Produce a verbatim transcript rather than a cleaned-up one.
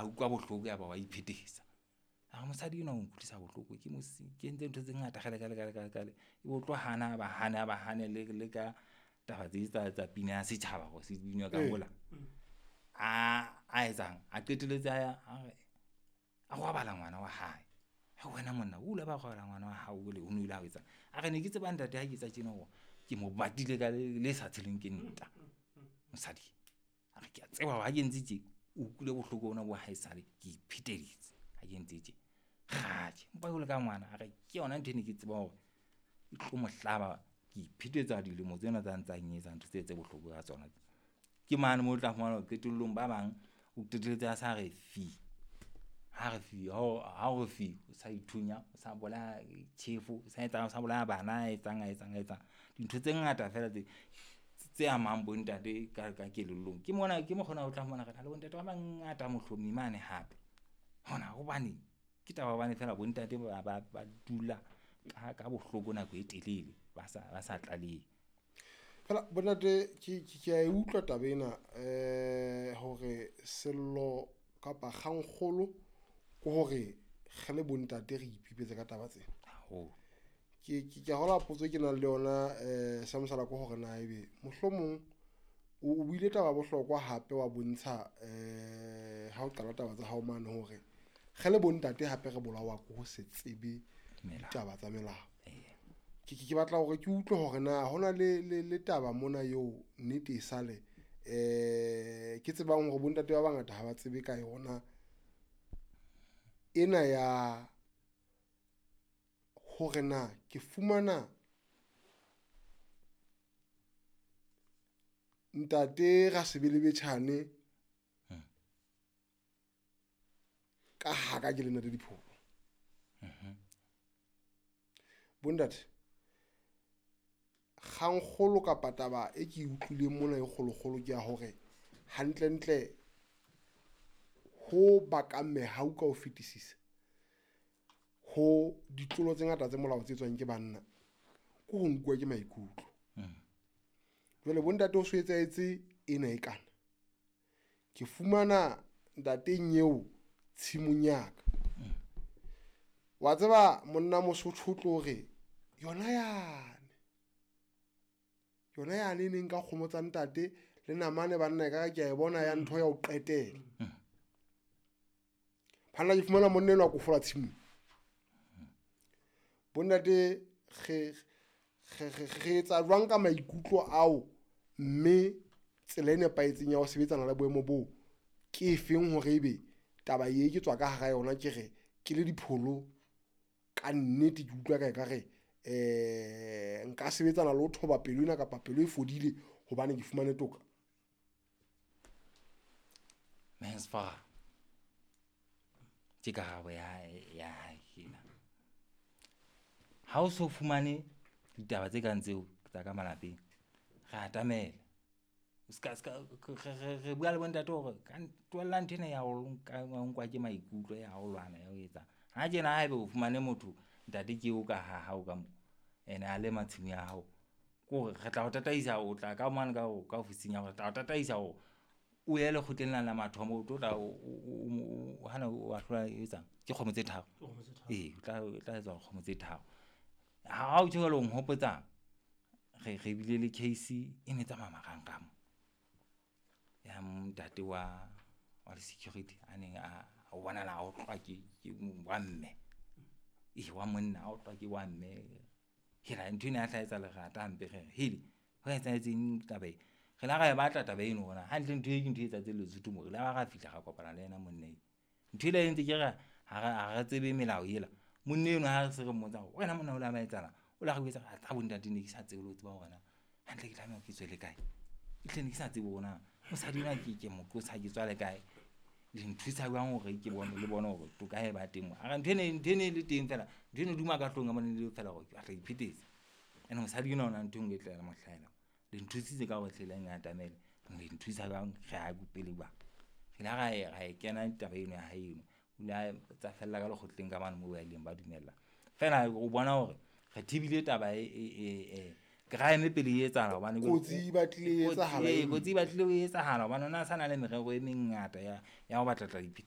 A utlwa bohloko ya ba wa iphetisa. A re mosadi enwa o nkutlwisa bohloko ke mo ke entse ntho tse ngata kgale kgale kgale kgale kgale. Ebe o tlo hana ba hane a ba hane le le ka taba tse tsa tsa pina ya setjhaba hore se binwa ka mola. A a etsang a qetelletse a a re a robala ngwana wa hae. Ha wena monna o la ba robala ngwana wa hao o le o no ile a etsang. A re ne ke tseba ntate ha ke etsa tjena hore ke mo batile ka le sa tshelweng ke nta mosadi. A re ke a tseba hore ha ke entse tje o utlwile bohloko bona bo haesale ke ipheteditse ha ke entse tje. Kgadi empa jwalo ka ngwana a re ke yona ntho e ne ke tseba hore e tlo mo hlaba. Ke iphetetsa dilemo tsena tsa ntsang etsa ntho tse tse bohloko ka tsona. Ke mane moo o tla fumana hore qetellong ba bang o qetelletse a sa re fi. Ha re fi ha o ha o re fi, o sa ithunya, o sa bolaya tjhefo, o sa etsang, o sa bolaya bana, a etsang a etsang a etsang. Dintho tse ngata fela tse tse amang bontate ka ka kelellong. Ke mona ke mokgwa ona o tla fumana re na le bontate ba bangata mohlomi mane hape. Hona hobaneng? Ke taba ya hobane feela bontate ba ba ba dula ka ka bohloko nako e telele ba sa ba sa tlalehe. Fela bontate ke ke a e utlwa taba ena eh hore sello kapa kgangkgolo ke hore re le bontate re ipipetse ka taba tsena. Haholo. Ke ke ke hola potso e ke nang le yona eh sa mosala ke hore na ebe mohlomong o buile taba bohlokwa hape wa bontsha eh ha o qala taba tsa hao mane hore re le bontate hape re bolawa ke ho se tsebe ditaba tsa melao. Ke ke batla hore ke utlwe hore na hona le le le taba mona eo nnete e sale eh ke tsebang hore bontate ba bangata ha ba tsebe ka yona ena ya hore na ke fumana ntate Rasebelebetjhane ka haka ke le ntate Dipholo. Bontate kgangkgolo kapa taba e ke utlwileng mona e kgolokgolo ke ya hore hantlentle ho bakang mehau ka ho fetisisa ho ditlolo tse ngata tse molao tse etswang ke banna ke ho nkuwa ke maikutlo. Jwale bontate ho so etsahetse ena e kana. Ke fumana ntateng eo tshimong ya ka. Wa tseba monna Mosotho o tlo re yona yane yona yane e neng ka kgomo tsa ntate le namane banna e ka ke a e bona ya ntho ya ho qetela. Phana ke fumana monna enwa a kofola tshimong. Bontate re re re etsa jwang ka maikutlo ao mme tsela e nepahetseng ya ho sebetsana le boemo boo ke efeng hore ebe taba e ke tswa ka hara yona ke re ke le Dipholo ka nnete ke utlwa ka ekare eh nka sebetsana le ho thoba pelo ena kapa pelo e fodile hobane ke fumane toka. Mensfa ke karabo ya ya hae ena. Ha o so fumane ditaba tse kang tseo tsa ka malapeng, re atamela. O ska ska re re bua le bontate hore ka tlohella ntho ena ya ho nka nkwa ke maikutlo ya ho lwana ya ho etsa. Ha tjena haebe o fumane motho ntate ke eo ka ha hao ka mo ene a lema tshimo ya hao, ke hore re tla o tataisa o tla ka mane ka ka ofising ya hore tla o tataisa hore o ye lekgotleng lane la mathomo o tlo tla o hana o ahlola e etsang ke kgomo tse tharo. Ee, o tla o tla etsa kgomo tse tharo. Ha o tjho jwalo o nhopotsa re re bile le case e ne tsamaya marangrang ya ntate wa wa security a neng a o bonahala a otlwa ke ke wa mme. E wa monna a otlwa ke wa mme. Hela ntho ena ya hlaha etsa lerata hampe re re hele ho etsahetseng taba e. Re la ra e batla taba eno hore hantle ntho e ke ntho e etsahetseng Lesotho mo. Re la ra fihla ra kopana le yena monna eo. Ntho ela e ntse ke re ha re ha re tsebe melao ela. Monna eno ha re se re mmotsa hore wena monna o la ba etsahalang, o la re jwetsa a bontate ne ke sa tsebe le ho tseba hore na hantle ke tlameha ke tswe le kae. Ehlile ne ke sa tsebe hore na mosadi enwa ke ke mo qosa ke tswa le kae. Le nthusa jwang hore ke bone le bone hore toka e ba teng mo. A re ntho ene ntho ene e le teng feela, ntho ene duma ka hloohong ya bona e le feela hore ke batla ho iphetetsa. Ene mosadi enwa ona ntho e nngwe e tla mo hlahela. Le nthusitse ka hore hle le nkatamele. Le nthusa jwang re ya pele jwang. Re la ra e ra e kena taba eno ya hae eno. O ile a tsa fella ka lekgotleng ka mane moo ba ileng ba dumella. Feela o bona hore re thibile taba e e e crime pele e etsahala hobane kotsi e batlile e etsahala. Kotsi e batlile e etsahala hobane ona sa na le merero e mengata ya ya ho batla tla iphetetsa.